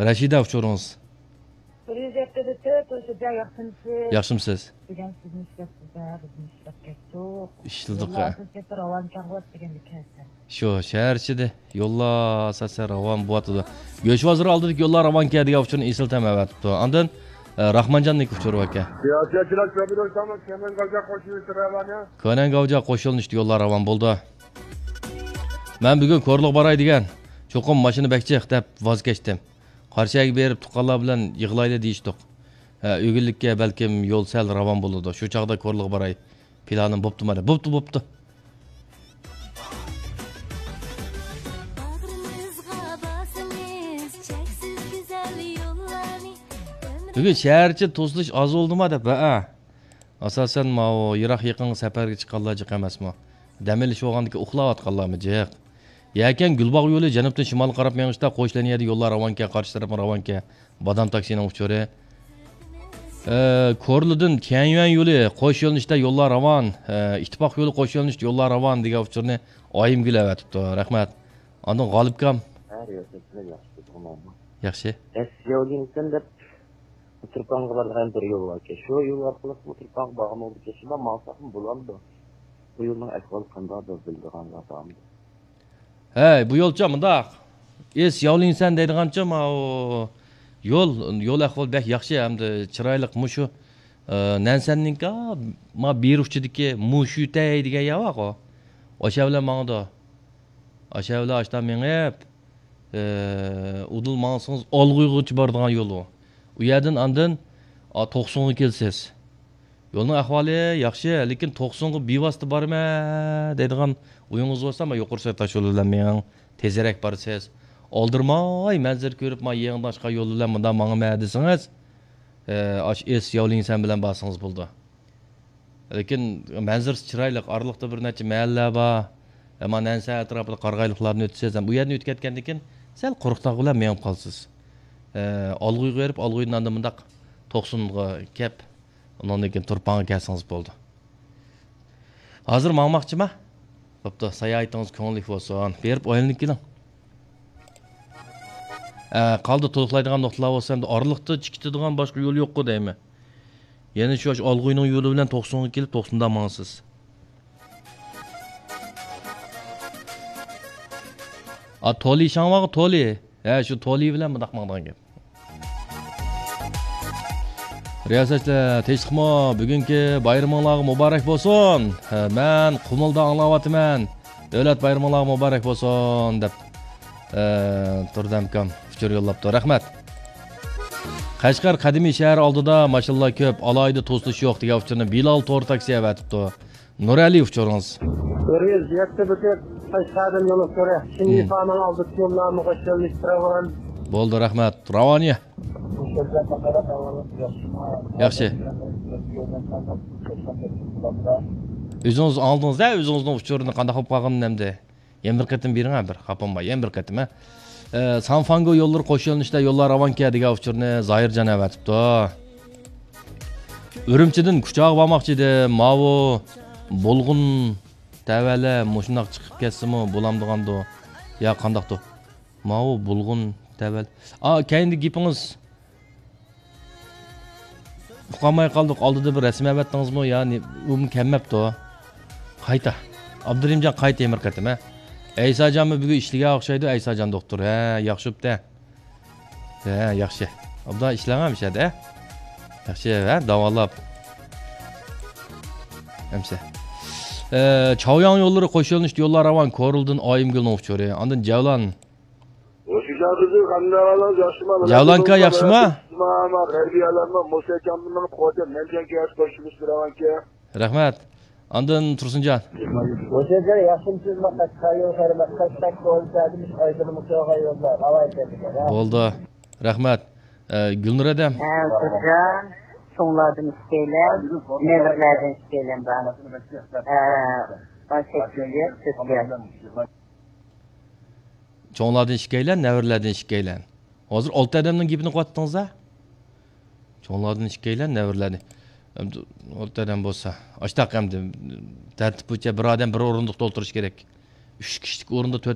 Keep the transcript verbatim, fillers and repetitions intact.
رەشىدە، ئۇچۇرىڭىز. بىر يۈز يەتتە دە تۆت، ھوشۇجان، ياخشىمسىز؟ ياخشىمسىز؟ بۈگۈن سىزنى ئىشلەپ سىزدە، بىزنى ئىشلەپ كەتتۇق. ئىشلىدۇق، ھە. يوللار ئاساسەن راۋانكەن بولۇپ دېگەندە كەلسەم. شۇ، شەھەر ئىچىدە يوللار ئاساسەن راۋان بولۇۋاتىدۇ. گۆش بازىرى ئالدىدىكى يوللار راۋانكەن دېگەن ئۇچۇرنى ئېسىل تەم ئەۋەتىپتۇ. ئاندىن، ئە، راخمانجاندىكى ئۇچۇر باركەن. سىياسەتچىلەر كۆپىدۇ، كۆنەڭ گاۋجا قوشۇلۇشى راۋانى. كۆنەڭ گاۋجا قوشۇلۇشتى يوللار راۋان بولدى. مەن بۈگۈن كورلىغا باراي دېگەن. چوقۇم ماشىنا بەك جىق دەپ ۋاز كەچتىم. قارشى يەرگە بېرىپ تۇغقانلار بىلەن يىغلايلى دېيىشتۇق. ھە، ئۆگۈنلۈككە بەلكىم يول سەل راۋان بولىدۇ. شۇ چاغدا كورلىغا باراي. پىلانىم بوپتۇ مانا. بوپتۇ، بوپتۇ. بۈگۈن شەھەر ئىچى توسۇلۇش ئاز بولدىما دەپ، ھە. ئاساسەن ماۋۇ يىراق يېقىنغا سەپەرگە چىققانلار جىق ئەمەسمۇ؟ دەم ئېلىش بولغاندىكىن ئۇخلاۋاتقانلارمۇ جىق؟ يەكەن گۈلباغ يولى جەنۇبتىن شىمالغا قاراپ مېڭىشتا قوش لىنىيەدە يوللار راۋانكەن، قارشى تەرەپمۇ راۋانكەن. بادام تاكسىنىڭ ئۇچۇرى. ئە، كورلىدىن تيەنيۈەن يولى قوش يۆنىلىشتە يوللار راۋان، ئە، ئىتتىپاق يولى قوش يۆنىلىشتە يوللار راۋان دېگەن ئۇچۇرنى ئايىمگۈل ئەۋەتىپتۇ. رەھمەت. ئاندىن غالىپكام. ھە، رىياسەتچىلەر ياخشى تۇرغانمۇ؟ ياخشى. ئەس ياۋلىنسەن دەپ تۇرپانغا بارىدىغان بىر يول باركەن. شۇ يول ئارقىلىق بۇ تۇرپانغا بارغان بولىدىكەن. شۇنداق ماڭساقمۇ بولامدۇ؟ بۇ يولنىڭ ئەھۋالى قانداق بىلىدىغانلار بارمىدۇ؟ ھەي، بۇ يولچۇ مۇنداق. ئېس ياۋلىنسەن دەيدىغانچۇ، ماۋۇ يول، يول ئەھۋالى بەك ياخشى ھەمدە چىرايلىق. مۇشۇ، ئە، نەنسەننىڭكى، ما بېرى ئۇچىدىكى مۇشۈتەي دېگەن يەر بارغۇ. ئاشۇ بىلەن ماڭىدۇ. ئاشۇ بىلەن ئاشتا مېڭىپ، ئە، ئۇدۇل ماڭسىڭىز ئالغۇيغىچە بارىدىغان يول ئۇ. ئۇ يەردىن ئاندىن، ئا، توقسۇنغا كېلىسىز. يولنىڭ ئەھۋالى ياخشى، لېكىن توقسۇنغا بىۋاسىتە بارىمەن دەيدىغان ئويىڭىز بولسا، مانا يۇقىرى سويا تاشيولى بىلەن مېڭىڭ، تېزرەك بارىسىز. ئالدىرىماي مەنزىرە كۆرۈپ، مانا يېڭىدىن ئاچقان يول بىلەن مۇنداق ماڭىمەن دېسىڭىز، ئە، ئاشۇ ئېس ياۋلىنسەن بىلەن بارسىڭىز بولىدۇ. لېكىن مەنزىرىسى چىرايلىق، ئارىلىقتا بىر نەچچە مەھەللە بار. ئەمما نەنسەن ئەتراپىدا قارىغايلىقلارنى ئۆتىسىز ھەم ئۇ يەردىن ئۆتۈپ كەتكەندىن كېيىن سەل قۇرۇق تاغ بىلەن مېڭىپ قالىسىز. ئە، ئالغۇيغا بېرىپ، ئالغۇيدىن ئاندىن مۇنداق توقسۇنغا كەپ، ئۇنىڭدىن كېيىن تۇرپانغا كەلسىڭىز بولىدۇ. ھازىر ماڭماقچىما؟ بوپتۇ، ساياھىتىڭىز كۆڭۈللۈك بولسۇن. بېرىپ ئايلىنىپ كېلىڭ. ئە، قالدى تولۇقلايدىغان نۇقتىلار بولسا، ئەمدى ئارىلىقتا چىقىدىغان باشقا يول يوققۇ دەيمەن. يەنە شۇ ئالغۇينىڭ يولى بىلەن توقسۇنغا كېلىپ، توقسۇندا ماڭىسىز. ئا، تولى شاڭۋاغ تولى. ھە، شۇ تولى بىلەن مۇنداق ماڭىدىغان گەپ. رىياسەتچىلەر، تىنچلىقمۇ؟ بۈگۈنكى بايرىمىڭلارغا مۇبارەك بولسۇن. ھە، مەن قۇمۇلدا ئاڭلاۋاتىمەن. دۆلەت بايرىمىڭلارغا مۇبارەك بولسۇن دەپ، ئە، تۇردى ئەمكام ئۇچۇر يوللاپتۇ. رەھمەت. قەشقەر قەدىمىي شەھەر ئالدىدا ماشىنىلار كۆپ، ئالاھىدە توسۇلۇش يوق دېگەن ئۇچۇرنى بىلال تور تاكسى ئەۋەتىپتۇ. نۇرئەلى، ئۇچۇرىڭىز. بىر يۈز يەتتە بۈتۈك قەشقەردىن يول ئۇچۇرى. شىنجىفانىڭ ئالدىدىكى يوللارمۇ قوشۇلۇش راۋان. بولدى، رەھمەت. راۋانىيە. ياخشى. ئۆزىڭىز ئاڭلىدىڭىز-دە، ئۆزىڭىزنىڭ ئۇچۇرىنى قانداق بولۇپ قالغىنىنى ئەمدى. يەنە بىر قېتىم بېرىڭ، ھە، بىر خاپام بار، يەنە بىر قېتىم، ھە. ئە، سانفاڭگو يوللىرى قوش يۆنىلىشتە يوللار راۋانكەن دېگەن ئۇچۇرنى زاھىرجان ئەۋەتىپتۇ. ئۈرۈمچىدىن كۇچاغا بارماقچى ئىدىم. ماۋۇ بۇلغۇن تەۋەلە مۇشۇنداق چىقىپ كەتسىمۇ بولامدىغاندۇ؟ يا قانداقتۇ؟ ماۋۇ بۇلغۇن تەۋەلە. ئا، كەينىدىكى گېپىڭىز. ئۇقالماي قالدۇق، ئالدىدا بىر رەسىم ئەۋەتتىڭىزمۇ يا نى-، ئۇمۇ كەلمەپتۇ. قايتا. ئابدۇرېھىمجان قايتا يەنە بىر قېتىم، ھە. ئەيساجانمۇ بۈگۈن ئىشلىگەن ئوخشايدۇ، ئەيساجان دوختۇر. ھە، ياخشى بوپتۇ. ھە، ياخشى. ئابدا ئىشلەڭ ھەمىشە، ھە. ياخشى، ھە، داۋاللاپ. ھەمىشە. ئە، چاۋياڭ يوللىرى قوش يۆنىلىشتە يوللار راۋان، كورلىدىن ئايىمگۈلنىڭ ئۇچۇرى. ئاندىن جەۋلان. ھوشۇجان تۈزۈك، قانداق ئەھۋالىڭىز، ياخشىمۇ؟ جەۋلانكا ياخشىمۇ؟ ماما، غەربىي ئالەممۇ، مۇسەجانمۇ، خوجا، نەنجەنكە ياخشى قوشۇلۇش بىلەنكە. رەھمەت. ئاندىن تۇرسۇنجان. ھوشۇجان، ياخشىمۇ سىز؟ ماقاش قايۇ، خەرمەت، قاش تەك، قول، سەدىمىش، ئايدىنمۇ، سوغا يوللار، ھاۋاي تەبىك، ھە؟ بولدى. رەھمەت. ئە، گۈلنۇر ھەدەم. ھە، تۇرسۇنجان، چوڭلاردىن ئىككىيلەن، نەۋرىلەردىن ئىككىيلەن بار. ھە، ئون سەككىزىنچى يىل، تۈركىيە. چوڭلاردىن ئىككىيلەن، نەۋرىلەردىن ئىككىيلەن. ھازىر ئالتە ئادەمنىڭ گېپىنى قىلىۋاتتىڭىز-ھە؟ چوڭلاردىن ئىككىيلەن، نەۋرىلەردىن. ئەمدى ئالتە ئادەم بولسا، ئاشتاق ئەمدى تەرتىپ بويىچە بىر ئادەم بىر ئورۇندۇقتا ئولتۇرۇشى كېرەك. ئۈچ كىشىلىك ئورۇندا تۆت